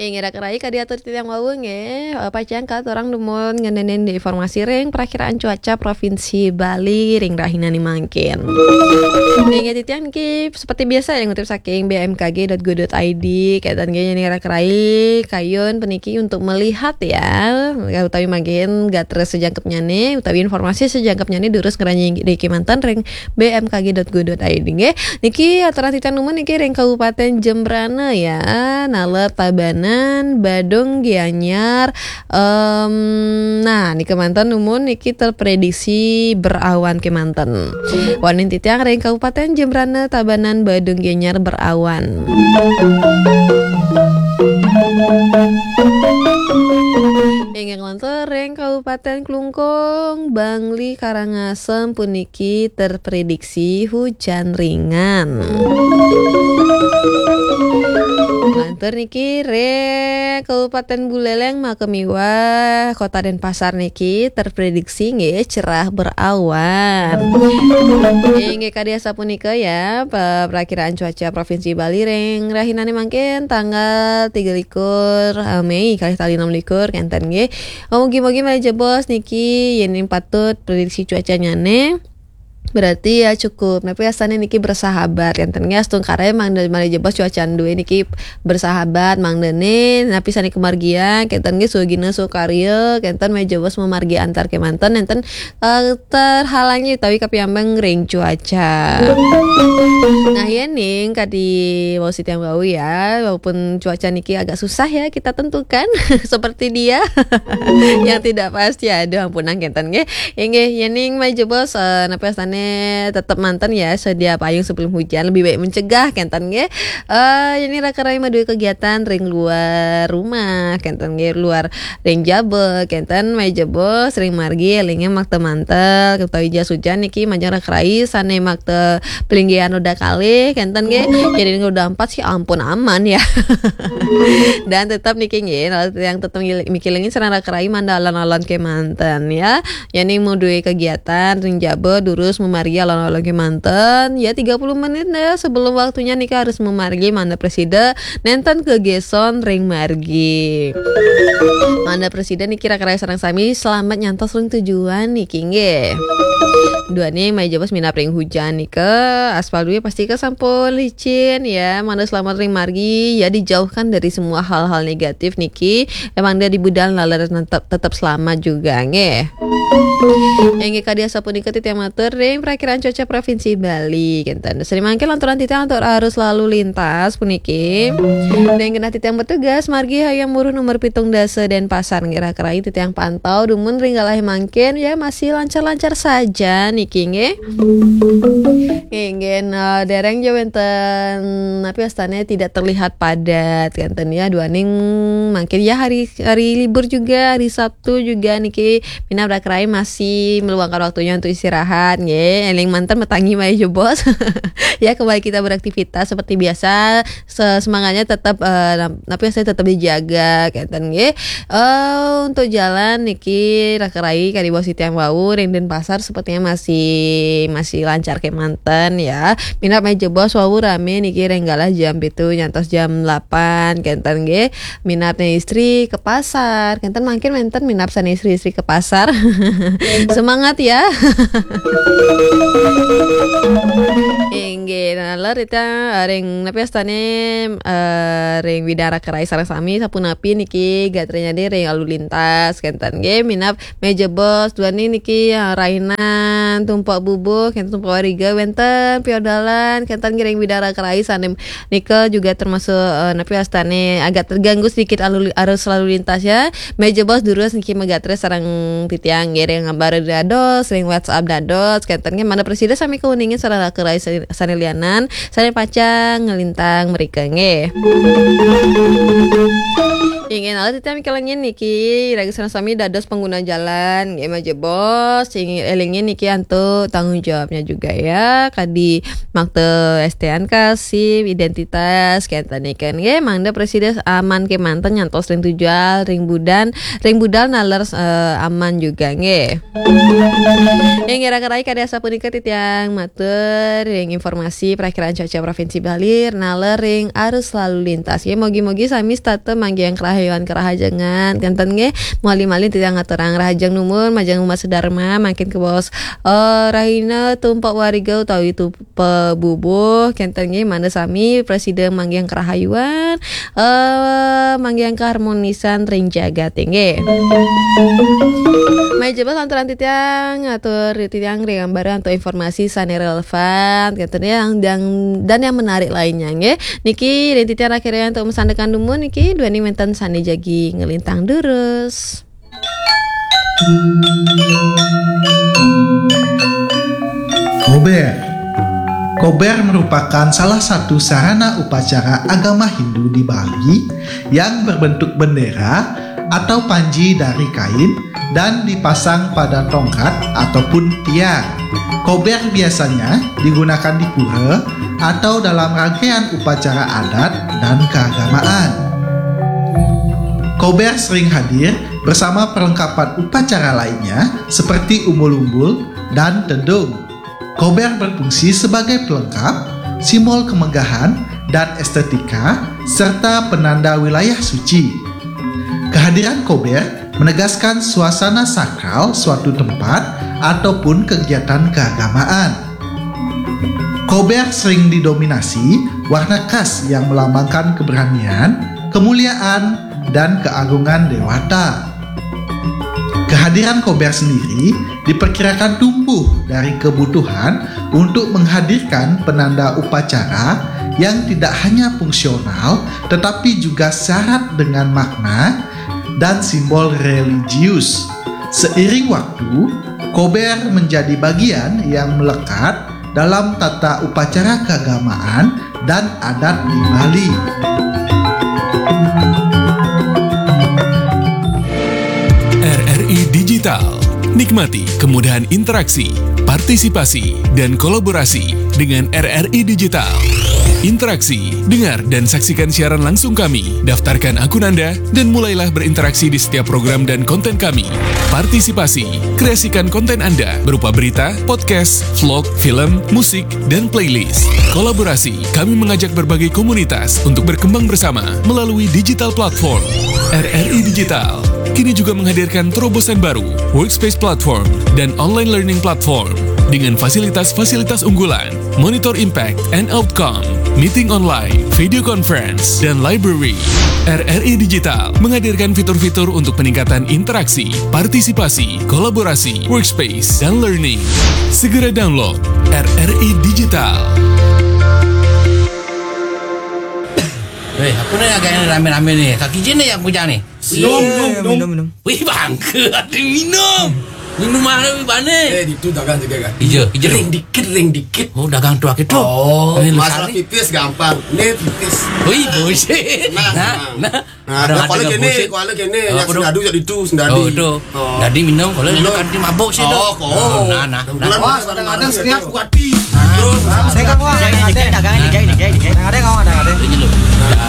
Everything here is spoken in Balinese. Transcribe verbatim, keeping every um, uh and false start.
Inggih, raka rai, ka diatur titiang wau nggih, eh, pacang katurang dumun ngenénin di informasi ring perakiraan cuaca Provinsi Bali ring rahinané mangkin. Inggih, titiang niki seperti biasa ya ngutip saking B M K G dot go dot I D, kénten nggih, inggih raka rai, kayun puniki untuk melihat ya, utawi manggihin gatra sajangkepnyané, utawi informasi sajangkepnyané durus ngranjing ring kémanten ring B M K G dot go dot I D nggih. Niki aturang titiang dumun niki ring Kabupaten Jembrana ya, naler Tabanan, Badung, Gianyar. Em, nah, niki manten dumun niki terprediksi berawan kémanten. Wau titiang ring Kabupaten Jembrana, Tabanan, Badung, Gianyar berawan. Inggih, lantur ring Kabupaten Klungkung, Bangli, Karangasem puniki terprediksi hujan ringan. Lantur niki ring Kabupaten Buleleng, Makemiwah, Kota Denpasar niki terprediksi nggih cerah berawan. Inggih, kadi asapunika ya, pe-, perakiraan cuaca Provinsi Bali ring rahinané mangkin tanggal tiga likur, eh, Mei, kalih tali enam likur, kénten nggih. Mugi-mugi malih jebos niki yén patut prediksi cuacanyané. Berarti ya cukup. Napi asané niki bersahabat, kénten nggih, astungkara mangda malih jebos cuaca dué niki bersahabat, mangdané napi sané kamargiang, kénten nggih, sugina sukarya, kénten malih jebos mamargi antar kémanten, nénten, eh, terhalangi utawi kapiambang ring cuaca. Nah, yéning kadi wau titiang wau ya, walaupun cuaca niki agak susah ya kita tentukan seperti dia yang tidak pasti. Aduh, ampunang kénten nggih. Inggih, yéning malih jebos, eh, napi asané tetep manten ya, sedia payung sebelum hujan, lebih baik mencegah kénten nggih. Eh, yéning raka rai madué kegiatan ring luar rumah, kénten nggih, luar ring jaba, kénten malih jebos ring margi, élingang makta mantel, utawi jas hujan niki majeng raka rai sané makta palinggihan roda kalih, kénten nggih. Jadi roda empat sih ampun aman ya. Dan tetap niki nggih, yang tetap ngil-, mikilingin sareng raka rai mangda alon-alon kémanten ya. Yéning madué kegiatan ring jaba durus mamargi alon-alon kémanten, ya tiga puluh menit deh sebelum waktunya nika harus mamargi mangda prasida nénten kagéson ring margi. Mangda prasida niki raka rai sareng sami selamat nyantos ring tujuan niki nggih. Duaning malih jebos minab ring hujan nika, aspal dué pastika sampun licin ya, mangda selamat ring margi ya, dijauhkan dari semua hal-hal negatif niki. Emang dia di budal lalu tetap, tetap selamat juga nggih. Inggih, kadi asapunika titiang matur ring Prakiraan Cuaca Provinsi Bali, kénten. Sri mangke lanturan titiang atur arus lalu lintas puniki. Dan genah titiang bertugas margi Hayam Wuruk nomor pitung dasa Denpasar nggih, raka rai titiang pantau dumun ring galahé mangkin ya, masih lancar-lancar saja niki nggih. Inggih, nah, dereng ya wénten napi wastané tidak terlihat padat kénten ya, duaning mangkin ya hari, hari libur juga, hari Sabtu juga niki, minab raka rai masih meluangkan waktunya untuk istirahat nggih. Éling manten matangi malih jebos. Ya, kembali kita beraktivitas seperti biasa. Se-, semangatnya tetap, eh, nap-, napi wastané tetap dijaga kénten nggih. Eh, untuk jalan niki raka rai kadi wau titiang wau ring Denpasar sepertinya masih, masih lancar kémanten ya. Minab malih jebos wau ramé niki ring galah jam pitu nyantos jam delapan kénten nggih. Minab sané istri ke pasar, kénten mangkin wénten minab sané istri-istri ke pasar. Semangat ya. Inggih, nah, ler ita ring napi wastané, eh, ring widang raka rai sareng sami sapunapi niki gatranya di ring lalu lintas kénten nggih, minab malih jebos duaning niki, eh, rainan tumpek bubuh kénten, tumpek wariga wénten piodalan kénten nggih ring widang raka rai sané nika juga termasuk, eh, napi wastané agak terganggu sedikit lalu, arus lalu lintas ya. Malih jebos durus niki magatra sareng titiang nggih ring ngabar dados, ring WhatsApp dados, kénten nggih mangda prasida sami kauningin sareng raka rai sa-, sané lianan, sané pacang nglintang mrika nggih. Inggih, nah, titiang mikelengin niki, raga sareng sami dados pengguna jalan, nggih, majebos, sing elingin niki antuk tanggung jawabnya juga ya, kadi makta S T N K, SIM, identitas, kenten niki, nggih, mangda prasida aman kemanten nyantos ring tujuan, ring budan, ring budal naler, eh, aman juga, nggih. Inggih, raga rai kadi asapunika titiang matur ring informasi Prakiraan Cuaca Provinsi Bali, naler ring arus lalu lintas. Nggih, mugi-mugi sami setata manggihin karahayuan karahajengan. Kenten nggih, malih-malih titiang ngaturang rahajeng numun, majeng umat sedharma, mangkin kabaos, eh, rahina tumpak wariga utawi tupak bubuh. Kenten nggih, mangda sami prasida manggihin karahayuan, eh, manggihin kaharmonisan ring jagat nggih. Majebos lanturang titiang, atur titiang ring bareng antuk informasi sane relevan, kenten nggih, yang, yang, dan yang menarik lainnya nggih. Niki ring titiang raga rai antuk masandekan dumun niki, duaning wenten sane jagi nglintang durus. Kober. Kober merupakan salah satu sarana upacara agama Hindu di Bali yang berbentuk bendera atau panji dari kain dan dipasang pada tongkat ataupun tiang. Kober biasanya digunakan di pura atau dalam rangkaian upacara adat dan keagamaan. Kober sering hadir bersama perlengkapan upacara lainnya seperti umbul-umbul dan tedung. Kober berfungsi sebagai pelengkap, simbol kemegahan dan estetika, serta penanda wilayah suci. Kehadiran kober menegaskan suasana sakral suatu tempat ataupun kegiatan keagamaan. Kober sering didominasi warna khas yang melambangkan keberanian, kemuliaan, dan keagungan dewata. Kehadiran kober sendiri diperkirakan tumbuh dari kebutuhan untuk menghadirkan penanda upacara yang tidak hanya fungsional tetapi juga syarat dengan makna dan simbol religius. Seiring waktu, kober menjadi bagian yang melekat dalam tata upacara keagamaan dan adat di Bali. R R I Digital. Nikmati kemudahan interaksi, partisipasi, dan kolaborasi dengan R R I Digital. Interaksi, dengar dan saksikan siaran langsung kami. Daftarkan akun Anda dan mulailah berinteraksi di setiap program dan konten kami. Partisipasi, kreasikan konten Anda berupa berita, podcast, vlog, film, musik, dan playlist. Kolaborasi, kami mengajak berbagai komunitas untuk berkembang bersama melalui digital platform. R R I Digital kini juga menghadirkan terobosan baru, Workspace Platform, dan Online Learning Platform dengan fasilitas-fasilitas unggulan, Monitor Impact and Outcome, Meeting Online, Video Conference, dan Library. R R I Digital menghadirkan fitur-fitur untuk peningkatan interaksi, partisipasi, kolaborasi, workspace, dan learning. Segera download R R I Digital. Weh, apa ni agak rame-rame ni? Kaki je ni yang punya ni? Minum, minum, minum, minum. Wih, bangka ada minum. Minum mana wih bane? Eh, itu dagang juga kan? Ija, ija. Ring dikit, ring dikit. Oh, dagang tu akhir tu. Oh, masalah pipis gampang. Ni pipis. Wih, bullshit. Nah, nah. Nah, kalau kena, kalau kena yang sendadu jadi tu sendadu. Oh, tu. Jadi minum kalau minum kanti mabuk sih tu. Oh, nah, nah. Wah, kadang-kadang setiap kuati. Terus, saya kan wah, kadang-kadang dagang ni, dagang ni, dagang ni. Kadang-kadang kau ada, ada. Ini lu.